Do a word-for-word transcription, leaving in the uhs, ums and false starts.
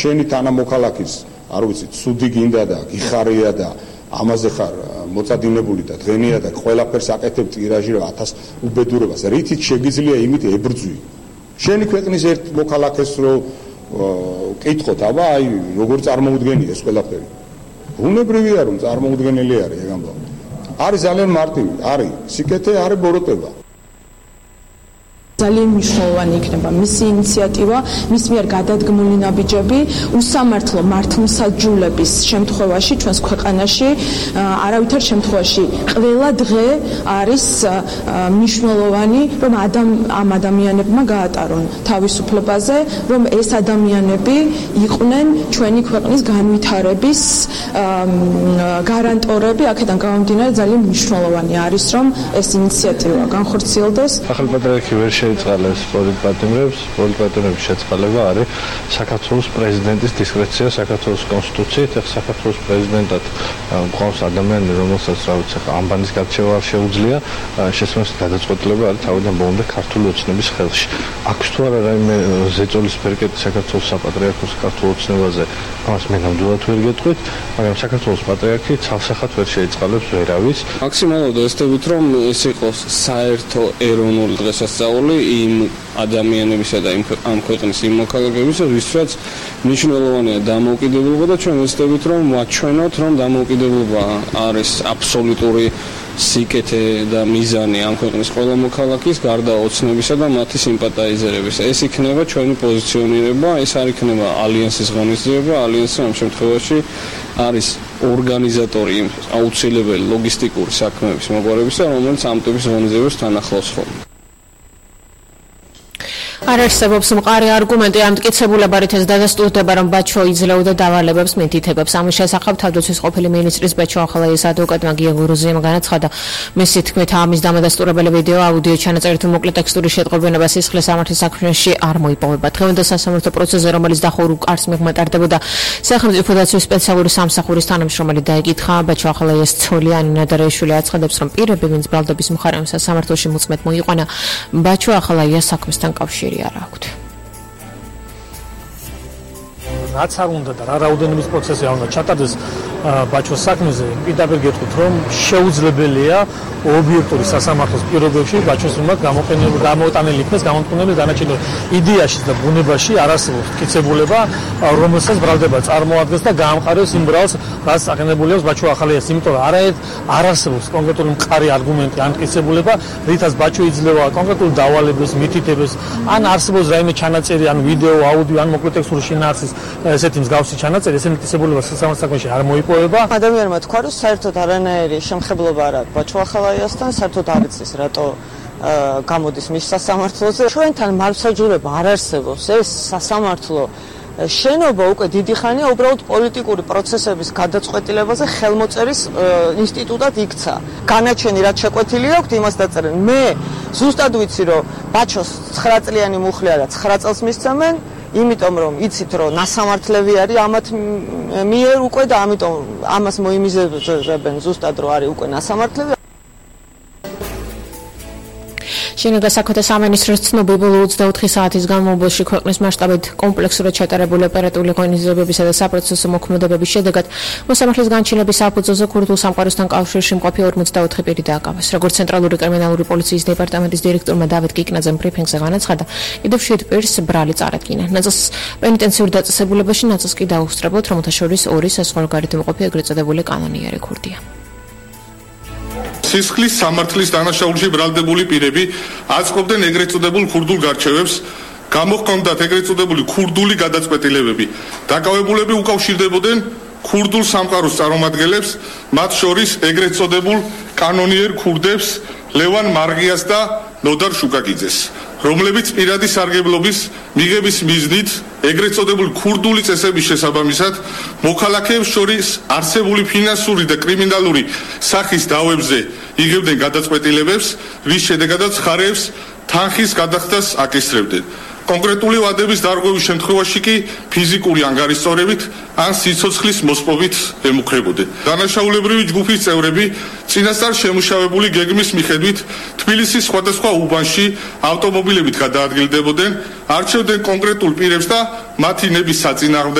შენი თანამოქალაქის არ ვიცი ცუდი გინდა და გიხარია და ამაზე ხარ მოწადინებული და დღენია და ყველაფერს აკეთებ ტირაჟი რა ათას უბედურებას რითიც შეგიძლია იმით ებრძვი შენი ქვეყნის ერთ მოქალაქეს რო კითხოთ აბა აი როგორ წარმოუდგენია ეს ყველაფერი უნებრივია რომ წარმოუდგენელი არის ეგ ამბავი არის ძალიან მარტივი არის სიკეთე არის ბოროტება ძალიან მნიშვნელოვანი იქნება მისი ინიციატივა, მის მიერ გადადგმული ნაბიჯები, უსამართლო მართლმსაჯულების შემთხვევაში ჩვენს ქვეყანაში არავითარ შემთხვევაში ყველა დღე არის მნიშვნელოვანი, რომ ამ ადამიანებმა გაატარონ თავისუფლებაზე, რომ ეს ადამიანები იყვნენ ჩვენი ქვეყნის განვითარების გარანტორები, აქედან გამომდინარე ძალიან მნიშვნელოვანი არის, რომ ეს ინიციატივა განხორციელდეს. ახალპატრიარქი ვერ შეიწყალეს პოლიტპატიმრებს, პოლიტპატიმრების შეწყალება არის საქართველოს პრეზიდენტის დისკრეცია საქართველოს კონსტიტუციით, ახ საქართველოს პრეზიდენტად მყავს ადამიანი, რომელსაც რა ვიცი, ამბანის გარჩევა არ შეუძლია, შესაბამისად გადაწყვეტილება არის თავიდან ბოლომდე ქართული ოცნების ხელში. აქვს თუ არა რაიმე ზეწოლის ფერკეტი საქართველოს საპატრიარქოს ქართულ ოცნებაზე, ამას მე ნამდვილად ვერ გეტყვით, მაგრამ საქართველოს პატრიარქი ცალსახად ვერ შეიწყალებს ვერავის. მაქსიმალურად ვესწრებით, რომ ეს იყოს საერთო ეროვნული დღესასწაული იმ ადამიანებისა და ამ ქვეყნის იმ მოქალაქეებისა, ვისაც მნიშვნელოვანია დამოუკიდებლობა და ჩვენ ვესწრებით, რომ ვაჩვენოთ, რომ დამოუკიდებლობა არის აბსოლუტური სიკეთე და მიზანი ამ ქვეყნის ყველა მოქალაქის გარდა ოცნებისა და მათი სიმპათიზერებისა. ეს იქნება ჩვენი პოზიციონირება, ეს არ იქნება ალიანსის ღონისძიება, ალიანსი ამ შემთხვევაში არის ორგანიზატორი იმ აუცილებელი ლოგისტიკური საქმეების მოგვარებისა, რომელიც ამ ტიპის ღონისძიებებს თან ახლავს ხოლმე. არ არსებობს მყარი არგუმენტი ამ მტკიცებულებარით ეს დადასტურდება, რომ ბაჩო იძლეოდა დავალებებს მითითებებს. ამის შესახებ თავდაცვის ყოფილი მინისტრის ბაჩო ახალაიას ადვოკატმა გია გურუზიამ განაცხადა, მისი თქმით ამის დამადასტურებელი ვიდეო აუდიო ჩანაწერი თუ მოკლე ტექსტური შეტყობინება სისხლის სამართლის საქმეში არ მოიპოვება. დღევანდელ სასამართლო პროცესზე, რომელიც დახურულ კარს მიღმეტარდებოდა სახელმწიფო დაცვის სპეციალური სამსახურის თანამშრომელი დაეკითხა, ბაჩო ახალაიას ცოლი ანინა დარეიშვილი აცხადებს, რომ პირები, ვინც ბრალდების მხარემ სასამართლოში მოწმედ მოიყვანა, ბაჩო ახალაიას საქმესთან კავშირი არ აქვთ. რაც არ უნდა და რა რაოდენობის პროცესი არ უნდა ჩატარდეს ბაჩოს საქმეზე, პირდაპირ გეტყვით, რომ შეუძლებელია ობიექტური სასამართლოს პირობებში ბაჩოს მიმართ გამოტანილი იქნეს გამომტყუნებელი დანარჩენი იდეაში და ბუნებაში არ არსებობს მტკიცებულება, რომელსაც ბრალდება წარმოადგენს და გაამყარებს იმ ბრალს, რაც აყენებული აქვს ბაჩო ახალაიას. იმიტომ რომ არაერთ არ არსებობს კონკრეტული მყარი არგუმენტი ან მტკიცებულება, რითაც ბაჩო იძლევა კონკრეტულ დავალებებს, მითითებებს, ან არსებობს რაიმე ჩანაწერი, ან ვიდეო, აუდიო, ან მოკლე ტექსტური შინაარსის ესეთი მსგავსი ჩანაწერი, ესეთი მტკიცებულება სასამართლო საქმეში არ მოიპოვება. ადამიანმა თქვა, რომ საერთოდ არანაირი შემხებლობა არ აქვს ბაჩო ახალაიასთან, საერთოდ არ იცის რატო გამოდის მის სასამართლოზე. ჩვენთან მართლმსაჯულება არ არსებობს. ეს სასამართლო შენობა უკვე დიდი ხანია უბრალოდ პოლიტიკური პროცესების გადაწყვეტილებაზე ხელმოწერის ინსტიტუტად იქცა. განაჩენი რაც შეკვეთილი აქვს, იმას დაწერენ. მე ზუსტად ვიცი, რომ ბაჩოს ცხრა წლიანი მუხლი არა, ცხრა წელს მისცემენ. იმიტომ რომ იცით რომ ნასამართლები არის ამათ მიერ უკვე და ამიტომ ამას მოიმიზებენ ზუსტად რომ არის უკვე ნასამართლები. შენობა საქმეთა სამინისტროს ცნობი ბოლო ოცდაოთხი საათის განმავლობაში ქვეყნის მასშტაბით კომპლექსურად ჩატარებული ოპერატიული ღონისძიებებისა და საპროცესო მოქმედებების შედეგად მოსამართლის განჩინების საფუძველზე ქურთულ სამყაროსთან კავშირში მყოფი ორმოცდაოთხი პირი დააკავეს. როგორც ცენტრალური კრიმინალური პოლიციის დეპარტამენტის დირექტორმა დავით კიკნაძემ ბრიფინგზე განაცხადა, კიდევ შვიდ პირს ბრალი წარადგინა. ნაწილს პენიტენციურ დაწესებულებაში, ნაწილს კი დაუსწრებლად, რომელთა შორის ორი საზღვარგარეთ მყოფი ეგრეთ წოდებული კანონიერი ქურდია. სისხლის სამართლის დანაშაულში ბრალდებული პირები აწყობდნენ ეგრეთ წოდებულ ქურდულ გარჩევებს, გამოჰქონდათ ეგრეთ წოდებული ქურდული გადაწყვეტილებები. დაკავებულები უკავშირდებოდნენ ქურდულ სამყაროს წარმომადგენლებს, მათ შორის ეგრეთ წოდებულ კანონიერ ქურდებს ლევან მარღიას და ნოდარ შუკაკიძეს, რომლებიც პირადი სარგებლობის მიღების მიზნით ეგრეთ წოდებული ქურდული წესების შესაბამისად მოქალაქეებს შორის არსებული ფინანსური და კრიმინალური სახის დავებზე იღებდნენ გადაწყვეტილებებს, რის შედეგადაც მხარეებს თანხის გადახდას აკისრებდნენ. კონკრეტული ვადების დარღვევის შემთხვევაში კი ფიზიკური ანგარიშწორებით ან სიცოცხლის მოსპობით ემუქრებოდნენ. დანაშაულებრივი ჯგუფის წევრები წინასწარ შემუშავებული გეგმის მიხედვით თბილისის სხვადასხვა უბანში ავტომობილებით გადაადგილდებოდნენ, არჩევდნენ კონკრეტულ პირებს და მათი ნების საწინააღმდეგო